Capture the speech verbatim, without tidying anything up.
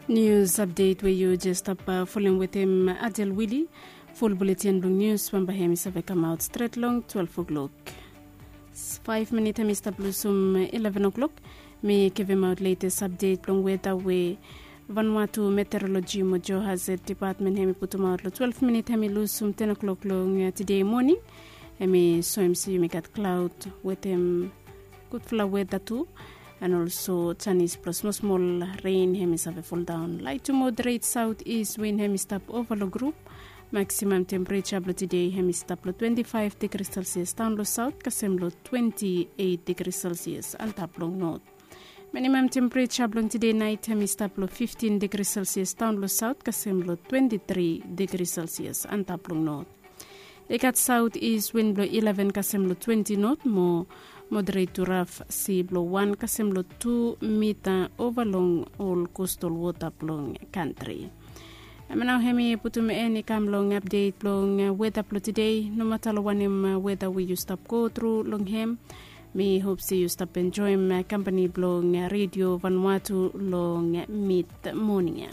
Nius apdet we yu jes stap folem wetem Adel Wili. Ful buletin blong nius bamba hem i save kamaot stret long twelve o'klok. Faif minit hem i stap lusum ileven o'klok. Mi givimaot letes apdet blong weda we Vanuatu Meteorologi mo Geohazard Dipatmen hem i putumaot long twelve minit hem i lusum ten o'klok long tide moning. Hem i soem se yumi gat klaod wetem gudfala weda tu. And olso janis blong smosmol rein hem i save foldaon. Lait tu moderet saot is win hem i stap ova long grup. Maksimam tempereja blong tide hem i stap long twenti faef digri selsias daon long saot kasem long twenti eit digri selsias antap long not. Minimam tempereja blong tide nait hem i stap long fiftin digri selsias daon long saot kasem long twenti tri digri selsias antap long not. I gat saot is win blong ileven kasem long twenti not mo moderet tu raf si blong wan kasem long tu mita ova long ol kostol wota blong kantri. Em nao hem i putum en i kam long apdet blong weda blong tide. Nomata long wanem weda we yu stap go tru long hem, mi hop se yu stap enjoem kampani blong redio Vanuatu long mit moning ya.